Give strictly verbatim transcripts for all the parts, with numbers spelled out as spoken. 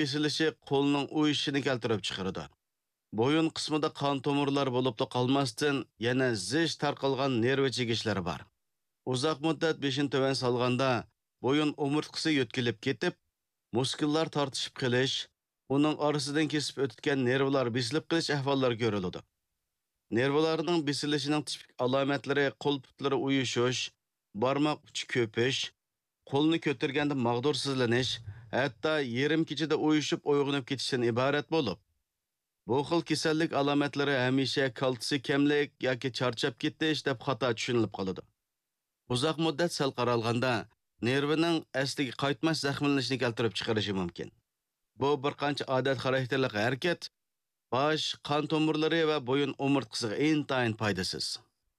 بېسىلىشى قولنىڭ ئۇيۇشۇشىنى كەلتۈرۈپ چىقىرىدۇ. بويۇن قىسمىدا قان تومۇرلار بولۇپلا قالماستىن، يەنە زىچ تارقالغان نېرۋا چېكىشلىرى بار. ئۇزاق مۇددەت بېشىنى تۆۋەن سالغاندا، بويۇن ئومۇرتقىسى يۆتكىلىپ كېتىپ، مۇسكۇللار تارتىشىپ قېلىش، ئۇنىڭ ئارىسىدىن كېسىپ ئۆتىدىكەن نېرۋىلار بېسىلىپ قېلىش ئەھۋاللىرى كۆرۈلىدۇ. نېرۋىلارنىڭ بېسىلىشىنىڭ تىپىك ئالامەتلىرى قول پۇتلىرى ئۇيۇشۇش، بارماق ئۇچى كۆپۈش، قولنى كۆتۈرگەندە ماغدۇرسىزلىنىش، ھەتتا يېرىم كېچىدە ئۇيۇشۇپ ئويغىنىپ كېتىشتىن ئىبارەت بولۇپ، بۇ خىل كېسەللىك ئالامەتلىرى ھەمىشە كالتسىي كەملىك ياكى چارچاپ كېتىش دەپ خاتا چۈشىنىلىپ قالىدۇ. ئۇزاق مۇددەت سەل قارالغاندا، نېرۋىنىڭ ئەسلىگە قايتماس زەخىملىنىشنى كەلتۈرۈپ چىقىرىشى مۇمكىن. بۇ بىر قانچە ئادەت خاراكتېرلىق ھەرىكەت باش، قان تومۇرلىرى ۋە بويۇن ئومۇرتقىسىغا ئىنتايىن پايدىسىز.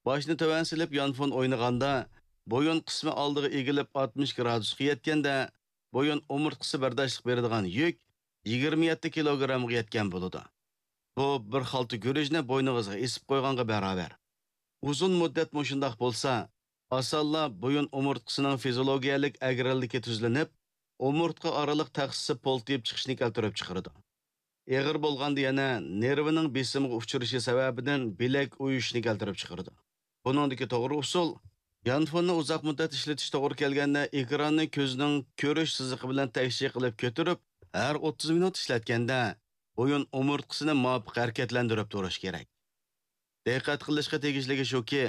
باشنى تۆۋەن سېلىپ يانفون ئوينىغاندا، بويۇن قىسمى ئالدىغا ئېگىلىپ ئاتمىش گرادۇسقا يەتكەندە، بويۇن ئومۇرتقىسى بەرداشلىق بېرىدىغان يۈك يىگىرمە يەتتە كىلوگرامغا يەتكەن بولىدۇ. بۇ بىر خالتا گۈرۈچنى بوينىڭىزغا ئېسىپ قويغانغا باراۋەر. ئۇزۇن مۇددەت مۇشۇنداق بولسا، ئاسانلا بويۇن ئومۇرتقىسىنىڭ فىزىولوگىيەلىك ئەگرىلىكى تۈزلىنىپ، ئومۇرتقا ئارىلىق تەخسىسى پولتىيىپ چىقىشنى كەلتۈرۈپ چىقىرىدۇ. ئېغىر بولغاندا يەنە نېرۋىنىڭ بېسىمغا ئۇچرىشى سەۋەبىدىن بىلەك ئۇيۇشۇشنى كەلتۈرۈپ چىقىرىدۇ. بۇنىڭدىكى توغرا ئۇسۇل، يانفوننى ئۇزاق مۇددەت ئىشلىتىش توغرا كەلگەندە، ئېكراننى كۆزنىڭ كۆرۈش سىزىقى بىلەن تەكشى قىلىپ كۆتۈرۈپ، ھەر ئوتتۇز مىنۇت ئىشلەتكەندە، بويۇن ئومۇرتقىسىنى مۇۋاپىق ھەرىكەتلەندۈرۈپ تۇرۇش كېرەك. دىققەت قىلىشقا تېگىشلىكى شۇكى،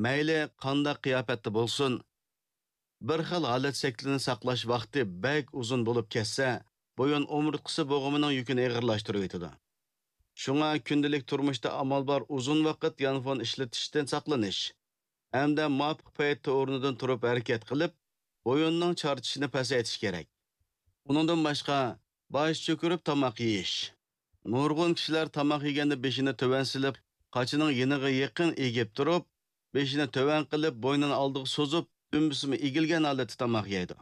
مەيلى قانداق قىياپەتتە بولسۇن، بىر خىل ھالەت شەكلىنى ساقلاش ۋاقتى بەك ئۇزۇن بولۇپ كەتسە، بويۇن ئومۇرتقىسى بوغۇمىنىڭ يۈكىنى ئېغىرلاشتۇرۇۋېتىدۇ. شۇڭا كۈندىلىك تۇرمۇشتا ئامال بار ئۇزۇن ۋاقىت يانفون ئىشلىتىشتىن ساقلىنىش ھەمدە مۇۋاپىق پەيتتە ئورنىدىن تۇرۇپ ھەرىكەت قىلىپ، بويۇننىڭ چارچىشىنى پەسەيتىش كېرەك. ئۇنىڭدىن باشقا، باش چۆكۈرۈپ تاماق يېيىش. نۇرغۇن كىشىلەر تاماق يېگەندە بېشىنى تۆۋەن سېلىپ، قاچىنىڭ يېنىغا يېقىن ئېگىپ تۇرۇپ، بېشىنى تۆۋەن قىلىپ، بوينىنى ئالدىغا سوزۇپ، دۈمبىسىمۇ ئېگىلگەن ھالەتتە تاماق يەيدۇ.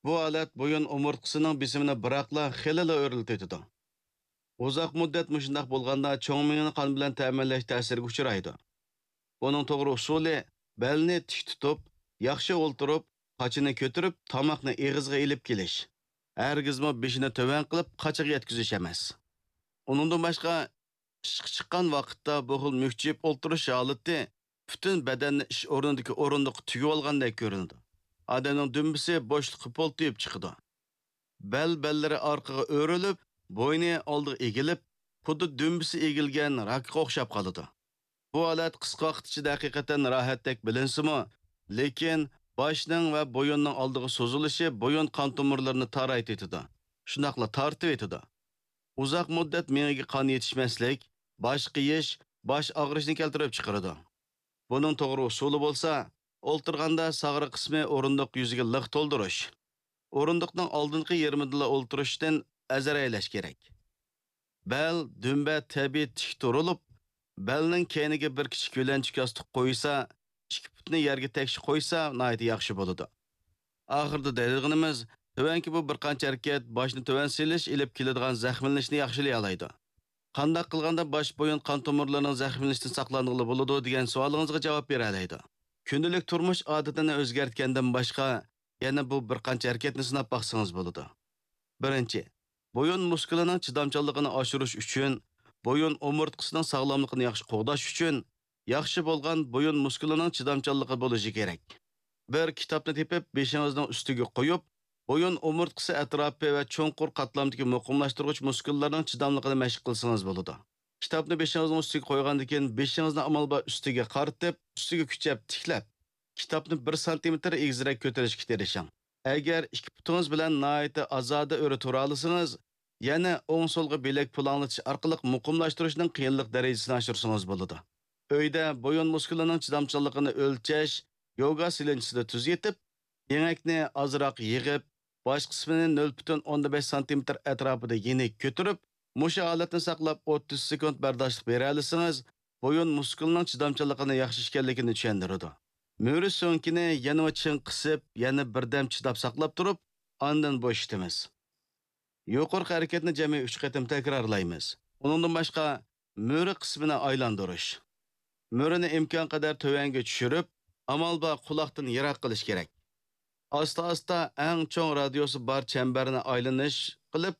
بۇ ھالەت بويۇن ئومۇرتقىسىنىڭ بېسىمىنى بىراقلا خېلىلا ئۆرلىتىۋېتىدۇ. ئۇزاق مۇددەت مۇشۇنداق بولغاندا، چوڭ مېڭىنى قان بىلەن تەمىنلەش تەسىرىگە ئۇچرايدۇ. بۇنىڭ توغرا ئۇسۇلى، بەلنى تىك تۇتۇپ، ياخشى ئولتۇرۇپ، قاچىنى كۆتۈرۈپ، تاماقنى ئېغىزغا ئېلىپ كېلىش. ھەرگىزمۇ بېشىنى تۆۋەن قىلىپ، قاچىغا يەتكۈزۈش ئەمەس. ئۇنىڭدىن باشقا، ئىشقا چىققان ۋاقىتتا بۇ خىل مۈكچىيىپ ئولتۇرۇش ھالىتى پۈتۈن بەدەننى ئىش ئورنىدىكى ئورۇندۇققا تۈگۈۋالغاندەك كۆرۈنىدۇ. ئادەمنىڭ دۈمبىسى بوشلۇققا پولتىيىپ چىقىدۇ. بەل بەللىرى ئارقىغا ئۆرۈلۈپ، بوينى ئالدىغا ئېگىلىپ، خۇددى دۈمبىسى ئېگىلگەن راكقا ئوخشاپ قالىدۇ. بۇ ھالەت قىسقا ۋاقىت ئىچىدە ھەقىقەتەن راھەتتەك بىلىنسىمۇ، لېكىن باشنىڭ ۋە بويۇننىڭ ئالدىغا سوزۇلۇشى بويۇن قان تومۇرلىرىنى تارايتىۋېتىدۇ، شۇنداقلا تارتىۋېتىدۇ. ئۇزاق مۇددەت مېڭىگە قان يېتىشمەسلىك، باش قېيىش، باش ئاغرىشنى كەلتۈرۈپ چىقىرىدۇ. بۇنىڭ توغرا ئۇسۇلى بولسا، ئولتۇرغاندا ساغرا قىسمى ئورۇندۇق يۈزىگە لىق تولدۇرۇش. ئورۇندۇقنىڭ ئالدىنقى يېرىمىدىلا ئولتۇرۇشتىن ئەزەر ھەيلەش كېرەك. بەل، دۈمبە تەبىئىي تىك تۇرۇلۇپ، بەلنىڭ كەينىگە بىر كىچىك يۆلەنچۈك ياستۇق قويسا، ئىككى پۇتنى يەرگە تەكشى قويسا ناھايىتى ياخشى بولىدۇ. ئاخىرىدا دەيدىغىنىمىز، تۆۋەنكى بۇ بىر قانچە ھەرىكەت باشنى تۆۋەن سېلىش ئېلىپ كېلىدىغان زەخىملىنىشنى ياخشىلىيالايدۇ. قانداق قىلغاندا باش بويۇن قان تومۇرلىرىنىڭ زەخىملىنىشتىن ساقلانغىلى بولىدۇ دېگەن سوئالىڭىزغا جاۋاب بېرەلەيدۇ. كۈندىلىك تۇرمۇش ئادىتىنى ئۆزگەرتكەندىن باشقا، يەنە بۇ بىر قانچە ھەرىكەتنى سىناپ باقسىڭىز بولىدۇ. بىرىنچى، بويۇن مۇسكۇلىنىڭ چىدامچانلىقىنى ئاشۇرۇش ئۈچۈن، بويۇن ئومۇرتقىسىنىڭ ساغلاملىقىنى ياخشى قوغداش ئۈچۈن، ياخشى بولغان بويۇن مۇسكۇلىنىڭ چىدامچانلىقى بولۇشى كېرەك. بىر كىتابنى تېپىپ، بېشىڭىزنىڭ ئۈستىگە قويۇپ، بويۇن ئومۇرتقىسى ئەتراپى ۋە چوڭقۇر قاتلامدىكى مۇقىملاشتۇرغۇچ مۇسكۇللارنىڭ چىداملىقىنى مەشىق قىلسىڭىز بولىدۇ. كىتابنى بېشىڭىزنىڭ ئۈستىگە قويغاندىن كېيىن، بېشىڭىزنى ئامال بار ئۈستىگە قارىتىپ، ئۈستىگە كۈچەپ تىكلەپ، كىتابنى بىر سانتىمېتىر ئېگىزرەك كۆتۈرۈشكە تىرىشىڭ. ئەگەر ئىككى پۇتىڭىز بىلەن ناھايىتى ئازادە ئۆرە تۇرالىسىڭىز، يەنە ئوڭ-سولغا بىلەك پۇلاڭلىتىش ئارقىلىق مۇقىملاشتۇرۇشنىڭ قىيىنلىق دەرىجىسىنى ئاشۇرسىڭىز بولىدۇ. ئۆيدە بويۇن مۇسكۇلىنىڭ چىدامچانلىقىنى ئۆلچەش يوگا سېلىنچىسىدا تۈزىتىپ، يېڭەكنى ئازراق يىغىپ، باش قىسمىنى نۆل پۈتۈن ئوندىن بەش سانتىمېتىر ئەتراپىدا يېنىك كۆتۈرۈپ، مۇشۇ ھالەتنى ساقلاپ ئوتتۇز سېكۇنت بەرداشلىق بېرەلىسىڭىز، بويۇن مۇسكۇلىنىڭ چىدامچانلىقىنى ياخشى ئىكەنلىكىنى چۈشەندۈرىدۇ. مۈرە سۆڭىكىنى يەنىمۇ چىڭ قىسىپ، يەنە بىردەم چىداپ ساقلاپ تۇرۇپ، ئاندىن بوشىتىمىز. يۇقىرىقى ھەرىكەتنى جەمئىي ئۈچ قېتىم تەكرارلايمىز. ئۇنىڭدىن باشقا، مۈرە قىسمىنى ئايلاندۇرۇش. مۈرىنى ئىمكانقەدەر تۆۋەنگە چۈشۈرۈپ، ئامال بار قۇلاقتىن يىراق قىلىش كېرەك. ئاستا-ئاستا ئەڭ چوڭ رادىيۇسى بار چەمبەرنى ئايلىنىش قىلىپ،